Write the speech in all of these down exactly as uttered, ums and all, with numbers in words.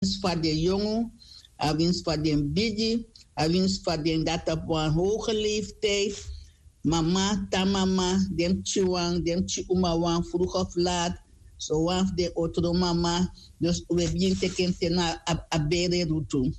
winsi fa den yongu, a winsi fa den bigi, a winsi fa den dati abi wan hoge leeftijd. Mama tan mama, den pikin wan, den pikin uma wan, vroeg of laat, so wan fu den otro mama. Dus we bigin teken te na a bere rutu.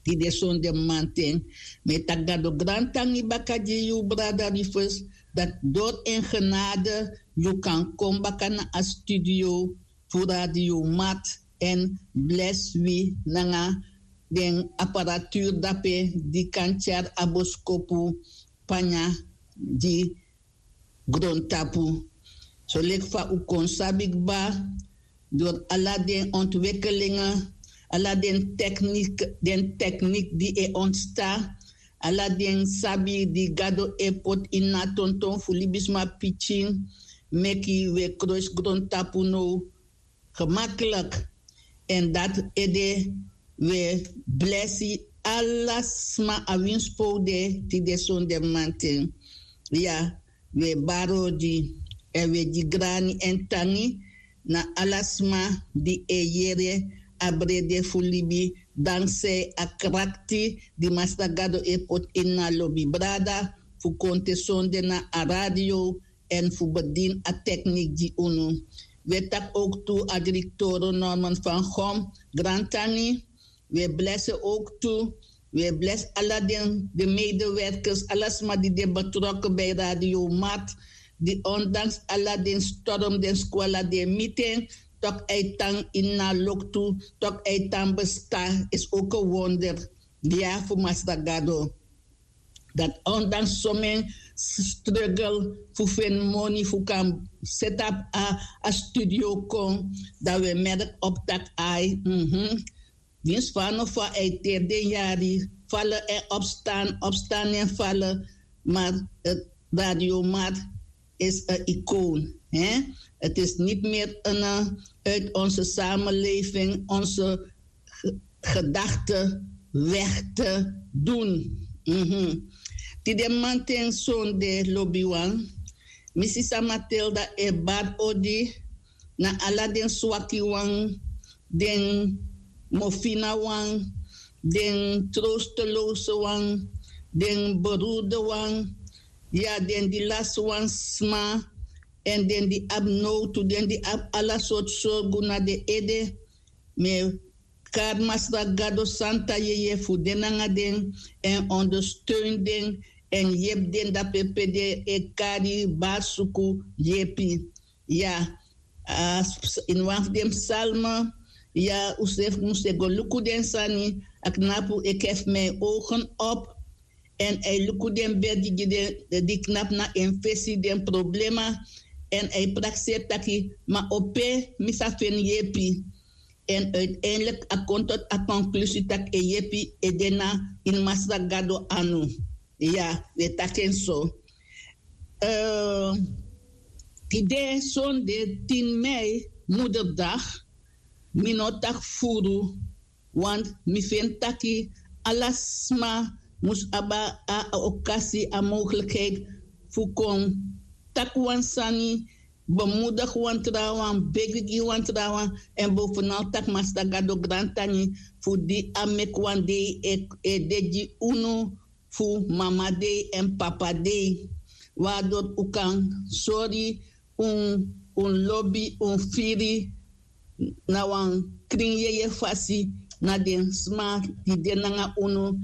Di de sonde manten, me taki gado grantangi baka gi yu brada rifes, dat dori en genade yu kan kon baka na a studio fu radio mat, en blesi wi nanga den aparatuur dape di kan tyari a boskopu panya gi grontapu. So leki fa un kon sabi kba, dori ala den ontwikkelingen, ala den teknik, den teknik di e ontsta, ala den sabi di gado e poti ini a tonton fu libisma pikin, meki we kroisi grontapu now gemaklik. En dati ede we blesi ala sma a winsi pe un de tide sonde manten. Ya, we bari odi, en we gi grani en tangi na ala sma di e yere a brede fu libi, dankzij a krakti di Masra Gado e poti ini a lobi brada fu kon te sonde na a radio, en fu bedini a teknik gi unu. We taki ook tu a direktoro Norman van Gom, grantangi. We blesi ook tu. We blesi ala den de medewerkers, ala sma di de betrokken bij Radio Mat, di ondanks ala den storm, den skwala, den miten, tok uitang in na loktu, tok uitang besta, is ook een wonder. Ya fu Masra Gado. Dat ondanks somen struggle fu feni moni fu kan set up a, a studio kon, dan we merk op tak ai. Mhm. Winsi fa no fa uiteri den yari, falen en opstaan, opstaan en falen, maar het radiomat is een icoon. Hè? Het is niet meer een, eh, uit onze samenleving, onze gedachten weg te doen. Mhm. Tide manten sonde lobiwan, mi sisa Matilda e bari odi na ala den swaki wan, den mofina wan, den troosteloze wan, den beroerde wan, ya den di lasi wan sma, en den di abi nowtu, den di abi ala sortu sorgu na den ede. Mi e kari Masra Gado santa yeye fu de nanga den, en ondersteun den, en yepi den dape pe den e kari bari suku yepi. Ya, a, ini wan fu den psalme, ya, un srefi mus e go luku den sani, a knapu, ik hef mijn ogen op. En a e luku den bedi gi den, di knapu na en fesi, den problema. En a e prakseri taki, ma o pe mi sa feni yepi. En uiteindelijk a kon tot a conclusie taki en yepi e de na ini Masra Gado anu. Ya, we taki en so. Eh, tide sonde tin mei, moederdag, mi no taki furu, want mi feni taki ala sma mus abi a, a okasi, a mogelijkheid fu kon taki wan sani, bemoedig wan trawan, begi gi wan trawan, en bovenal taki Masra Gado grantangi fu di a meki wan dei e, e de gi unu, fu mama dei en papa dei. Waardoor un kan sori un, un lobi, un firi na wan krin yeye fasi na den sma di de nanga unu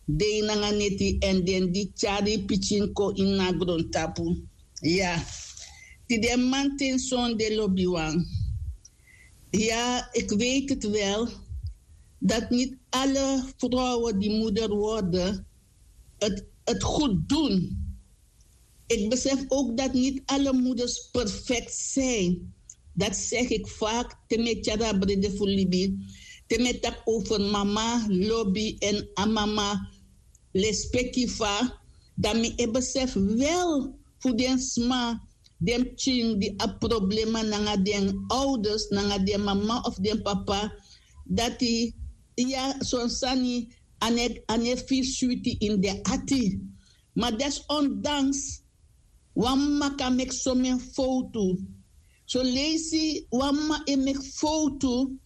dei nanga neti, en den di tyari pikin kon ini a grontapu. Ya, tide manten sonde lobiwan. Ja, ik weet het wel dat niet alle vrouwen die moeder worden het, het goed doen. Ik besef ook dat niet alle moeders perfect zijn. Dat zeg ik vaak, te me tyari a brede fu libi, te me taki over mama lobi en a mama lespeki fa, dan mi e besef wel fu den sma, den pikin di abi problema nanga den ouders, nanga den mama of den papa, dati, ya, son sani a no e, a no e firi switi ini den ati. Ma desondanks, wan mama kan meki somen fowtu. Son leisi wan mama e meki fowtu,